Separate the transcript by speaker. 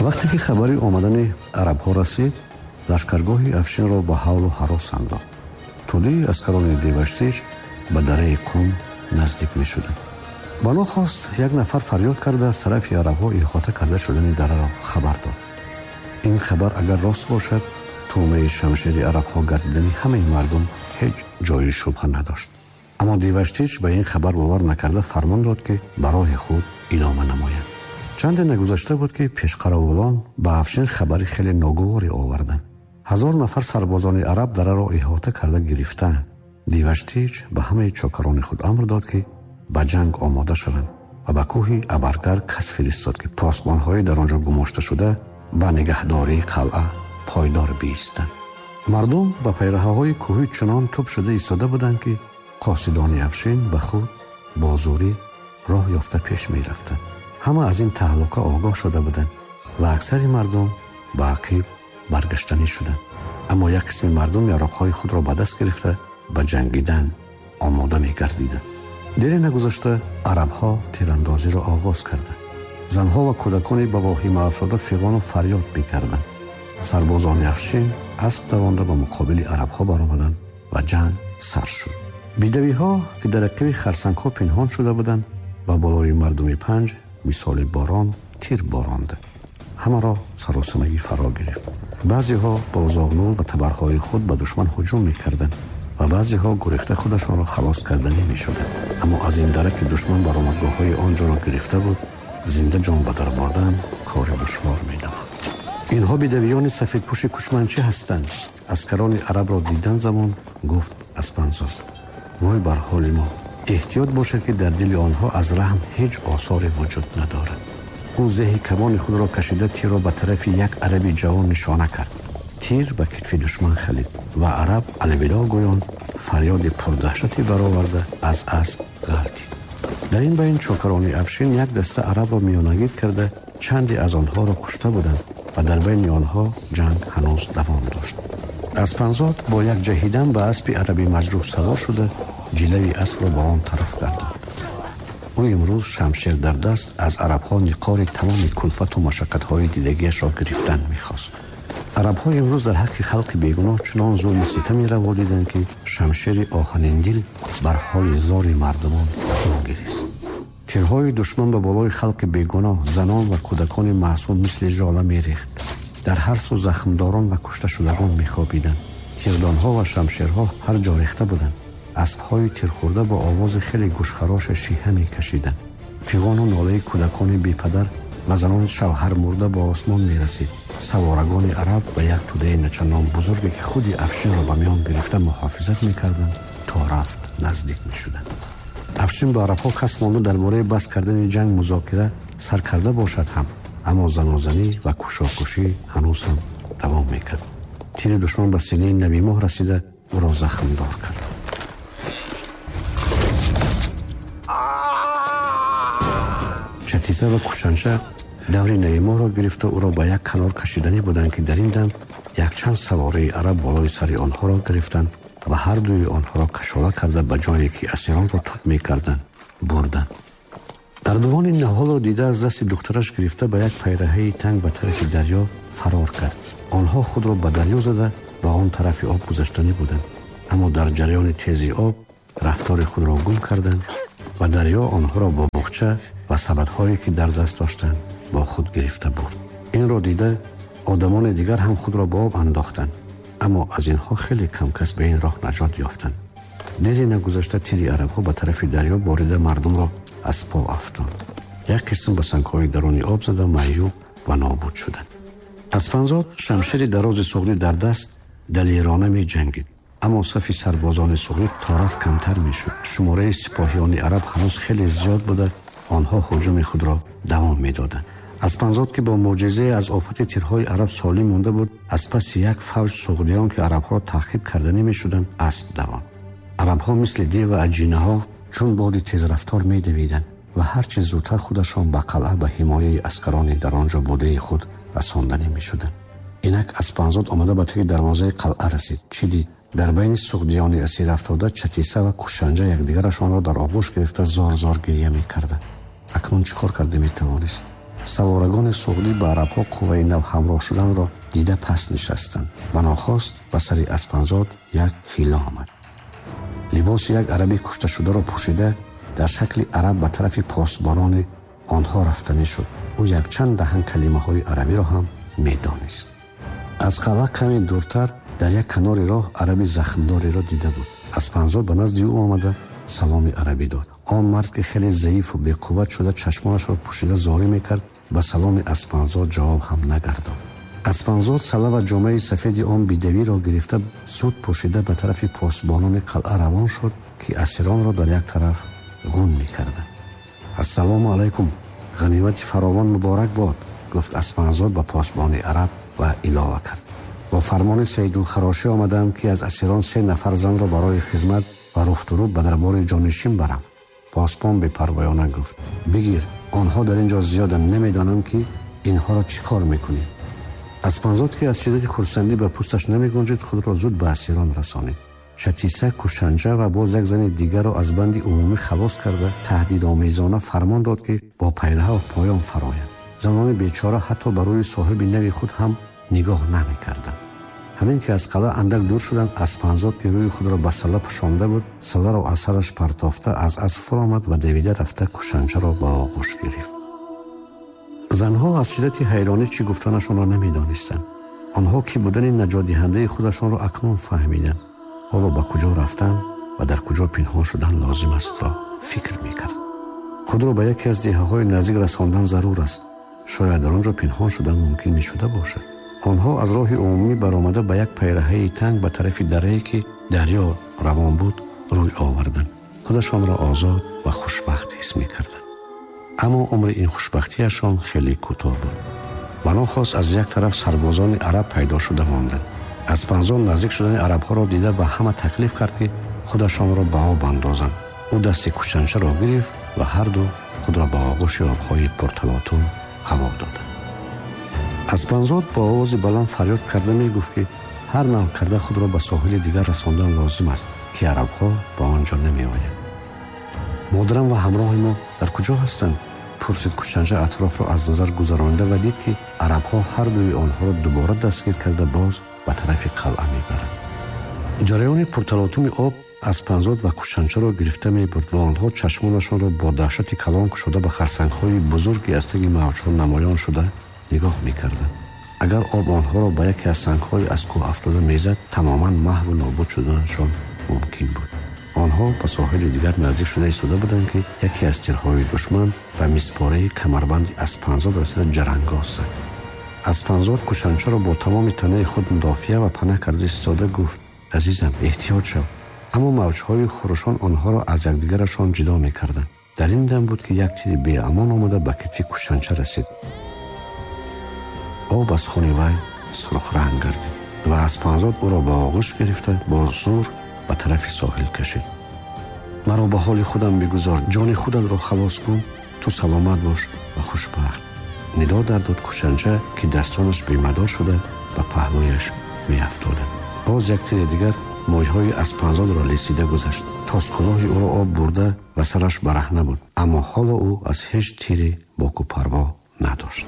Speaker 1: Вақте ки хабари омадани арабҳо расид, лашкаргоҳи Афшинро ба ҳавлу ҳарос андохт. Тӯдаи аскарони Деваштич ба дараи Қум наздик мешуданд. Ба нохост як нафар фарёд карда аз тарафи арабҳо иҳота карда шудани дараро хабар дод. Ин хабар агар рост бошад, тӯъмаи шамшери арабҳо гардидани ҳамаи мардум ҳеҷ ҷои шубҳа надошт. Аммо Деваштич ба ин хабар бовар накарда фармон дод, ки ба роҳи худ идома намоянд. Чанде нагузашта буд, ки пешқаровулон ба Афшин хабари хеле ногуворе оварданд. 1000 нафар сарбозони араб дараро иҳота карда гирифтаанд. Деваштич ба ҳамаи чокарони худ амр дод, ки ба ҷанг омода шаванд ва ба кӯҳи Абаргар кас фиристод, ки посбонҳои дар он ҷо гумошта шуда ба нигаҳдории қалъа пойдор биистанд. Мардум ба пайраҳаҳои кӯҳӣ чунон тӯб шуда истода буданд, ки қосидони Афшин ба худ бо зӯрӣ роҳ ёфта пеш мерафтанд. Ҳама аз ин таҳлука огоҳ шуда буданд ва аксари мардум ба ақиб баргаштанӣ шуданд. Аммо як қисми мардум яроқҳои худро ба даст гирифта ба ҷангидан омода мегардиданд. Дере нагузашта арабҳо тирандозиро оғоз карданд. Занҳо ва кӯдакони ба воҳима афтода фиғону фарёд мекарданд. Сарбозони Афшин асп давонда ба муқобили арабҳо баромаданд ва ҷанг сар шуд. Бедавиҳо, ки дар ақиби харсангҳо пинҳон шуда буданд, ба болои мардуми панҷ мисоли борон тир боронда. Ҳамаро саросимагӣ фаро гирифт. Баъзеҳо бо зоғнул ва табарҳои худ ба душман ҳуҷум мекарданд ва баъзеҳо гурехта худашонро халос карданӣ мешуданд. Аммо аз ин дара, ки душман баромадгоҳҳои он ҷоро гирифта буд, зинда ҷон ба дар бурдан кори душвор менамуд. Инҳо бедавиёни сафедпӯши кушманчӣ ҳастанд. Аскарони арабро дидан замон гуфт Аспанзод: вой бар ҳоли мо! Эҳтиёт бошед, ки дар дили онҳо аз раҳм ҳеҷ осоре вуҷуд надорад. Ӯ зеҳи камони худро кашида тирро ба тарафи як араби ҷавон нишона кард. Тир ба китфи душман халид ва араб алвидо гӯён фарёди пурдаҳшате бароварда аз асп ғалтид. Дар ин байн чокарони Афшин як даста арабро миёнагир карда чанде аз онҳоро кушта буданд ва дар байни онҳо ҷанг ҳанӯз давом дошт. Аспанзод бо як ҷаҳидан ба аспи араби маҷрӯҳ савор шуда ҷилави аспро ба он тараф гардонд. Ӯ имрӯз шамшер дар даст аз арабҳо ниқори тамоми кулфату машаққатҳои дидагиашро гирифтан мехост. Арабҳо имрӯз дар ҳаққи халқи бегуноҳ чунон зулму ситаме раво диданд, ки шамшери оҳаниндил бар ҳоли зори мардумон хун гирист. Тирҳои душман ба болои халқи бегуноҳ, занон ва кӯдакони маъсум мисли жола мерехт. Дар ҳар сӯ захмдорон ва кушташудагон мехобиданд. Тирдонҳо ва шамшерҳо ҳар ҷо рехта буданд. Аспҳои тирхӯрда бо овози хеле гӯшхароше шиҳа мекашиданд. Фиғону нолаи кӯдакони бепадар ва занони шавҳармурда ба осмон мерасид. Саворагони араб ба як тӯдаи начандон бузурге, ки худи Афшинро ба миён гирифта муҳофизат мекарданд, то рафт наздик мешуданд. Афшин ба арабҳо кас монда дар бораи бас кардани ҷанг музокира сар карда бошад ҳам, аммо занозанӣ ва кушокушӣ ҳанӯз ҳам давом мекард. Тири душман ба синаи Набимоҳ расида ӯро захмдор кард. Чатиза ва кушанча даври Набимоҳро гирифта ӯро ба як канор кашиданӣ буданд, ки дар ин дам якчанд савораи араб болои сари онҳоро гирифтанд ва ҳар дуи онҳоро кашола карда ба ҷое, ки асиронро туд мекарданд, бурданд. Ардувони наҳолро дида аз дасти духтараш гирифта ба як пайраҳаи танг ба тарафи дарё фарор кард. Онҳо худро ба дарё зада ба он тарафи об гузаштанӣ буданд, аммо дар ҷараёни тези об рафтори худро гум карданд ва дарё онҳоро бо буғча ва сабадҳое, ки дар даст доштанд, бо худ гирифта бурд. Инро дида одамони дигар ҳам худро ба об андохтанд, аммо аз инҳо хеле кам кас ба ин роҳ наҷот ёфтанд. Дере нагузашта тири арабҳо ба тарафи дарё борида мардумро аз по афтонд. Як қисм ба сангҳои даруни об зада маъюб ва нобуд шуданд. Аспанзод шамшери дарози суғдӣ дар даст далерона меҷангид, аммо сафи сарбозони суғдӣ тораф камтар мешуд. Шумораи сипоҳиёни араб ҳанӯз хеле зиёд буда, онҳо ҳуҷуми худро давом медоданд. Аспанзод, ки бо мӯъҷизае аз офати тирҳои араб солим монда буд, аз паси як фавҷ суғдиён, ки арабҳоро таъқиб карда намешуданд, асп давонд. Арабҳо мисли дев ва аҷинаҳо чун боди тезрафтор медавиданд ва ҳарчи зудтар худашон ба қалъа ба ҳимояи аскарони дар он ҷо будаи худ расонданӣ мешуданд. Инак Аспанзод омада ба таги дарвозаи қалъа расид. Чӣ дид? Дар байни суғдиёни асир афтода Чатиса ва Кушанҷа якдигарашонро дар оғӯш гирифта зор-зор гиря мекарданд. Акнун чӣ кор карда метавонист? Саворагони суғдӣ ба арабҳо қувваи нав ҳамроҳ шуданро дида паст нишастанд. Ба нохост ба сари Аспанзод як ҳила омад. Либоси як араби кушташударо пӯшида, дар шакли араб ба тарафи посбонони онҳо рафтанӣ шуд. Ӯ якчанд даҳан калимаҳои арабиро ҳам медонист. Аз қалъа каме дуртар дар як канори роҳ араби захмдореро дида буд. Аспанзод ба назди ӯ омада, саломи арабӣ дод. Он мард, ки хеле заифу беқувват шуда, чашмонашро пӯшида зорӣ мекард, ба саломи Аспанзод ҷавоб ҳам нагардонд. Аспанзод сала ва ҷомаи сафеди он бедавиро гирифта, зуд пӯшида, ба тарафи посбонони қалъа равон шуд, ки асиронро дар як тараф ғун мекарданд. «Ассалому алайкум, ғанимати фаровон муборак бод», гуфт Аспанзод ба посбони араб ва илова кард: «Бо фармони Саидулхарошӣ омадаам, ки аз асирон се нафар занро барои хизмат ва руфтурӯб ба дарбори ҷонишин барам». Посбон бепарвоёна гуфт: «Бигир, онҳо дар ин ҷо зиёданд, намедонам, ки инҳоро чӣ кор мекунӣ». Аспанзод, ки аз шиддати хурсандӣ ба пӯсташ намегунҷид, худро зуд ба асирон расонид. Чатиса, Кушанҷа ва боз як зани дигарро аз банди умумӣ халос карда, таҳдидомезона фармон дод, ки бо пайраҳа поён фароянд. Занони бечора ҳатто ба рӯи соҳиби нави худ ҳам нигоҳ намекарданд. Ҳамин ки аз қалъа андак дур шуданд, Аспанзод, ки рӯи худро ба сала пӯшонда буд, саларо аз сараш партофта, аз асп фуромад ва давида рафта, Кушанҷаро ба оғӯш гирифт. Занҳо аз шиддати ҳайронӣ чӣ гуфтанашонро намедонистанд. Онҳо ки будани наҷотдиҳандаи худашонро акнун фаҳмиданд. Ҳоло ба куҷо рафтан ва дар куҷо пинҳон шудан лозим астро фикр мекард. Худро ба яке аз деҳаҳои наздик расондан зарур аст. Шояд дар он ҷо пинҳон шудан мумкин мешуда бошад. Онҳо аз роҳи умумӣ баромада, ба як пайраҳаи танг ба тарафи дарае, ки дарё равон буд, рӯй оварданд. Худашонро озод ва хушбахт ҳис мекарданд. Аммо умри ин хушбахтиашон хеле кӯтоҳ буд. Ба нохост аз як тараф сарбозони араб пайдо шуда монданд. Аспанзод наздик шудани арабҳоро дида, ба ҳама таклиф кард, ки худашонро ба об андозанд. Ӯ дасти Кушанчаро гирифт ва ҳарду худро ба оғӯши обҳои пурталотум ҳаво доданд. Аспанзод бо овози баланд фарёд карда мегуфт, ки ҳар нав карда худро ба соҳили дигар расондан лозим аст, ки арабҳо ба он ҷо намеоянд. «Модарам ва ҳамроҳи мо дар куҷо ҳастанд?» пурсид Кушанҷа, атрофро аз назар гузаронида, ва дид, ки арабҳо ҳар дуи онҳоро дубора дастгир карда, боз ба тарафи қалъа мебаранд. Ҷараёни пурталотуми об Аспанзод ва Кушанчаро гирифта мебурд ва онҳо чашмонашонро бо даҳшати калон кушода, ба харсангҳои бузурги аз таги мавҷҳо намоён шуда нигоҳ мекарданд. Агар об онҳоро ба яке аз сангҳои аз кӯҳ афтода мезад, тамоман маҳву нобуд шуданашон мумкин буд. Онҳо ба соҳили дигар наздик шуда истода буданд, ки яке аз тирҳои душман ба миспораи камарбанди Аспанзод расида, ҷарангоз зад. Аспанзод Кушанчаро бо тамоми танаи худ мудофиа ва панаҳ карда истода гуфт: «Азизам, эҳтиёт шав». Аммо мавҷҳои хурӯшон онҳоро аз якдигарашон ҷудо мекарданд. Дар ин дам буд, ки як тири беамон омада, ба китфи Кушанча расид. Об аз хуни вай сурхранг гардид ва Аспанзод ӯро ба оғӯш гирифта, бо зӯр ба тарафи соҳил кашид. «Маро ба ҳоли худам бигузор, ҷони худатро халос кун, ту саломат бош ва хушбахт», нидо дардод Кушанча, ки дастонаш бемадор шуда, ба паҳлӯяш меафтоданд. Боз як тири дигар мӯйҳои Аспанзодро лесида гузашт. Тоскулоҳи ӯро об бурда ва сараш бараҳна буд, аммо ҳоло ӯ аз ҳеҷ тире боку парво надошт.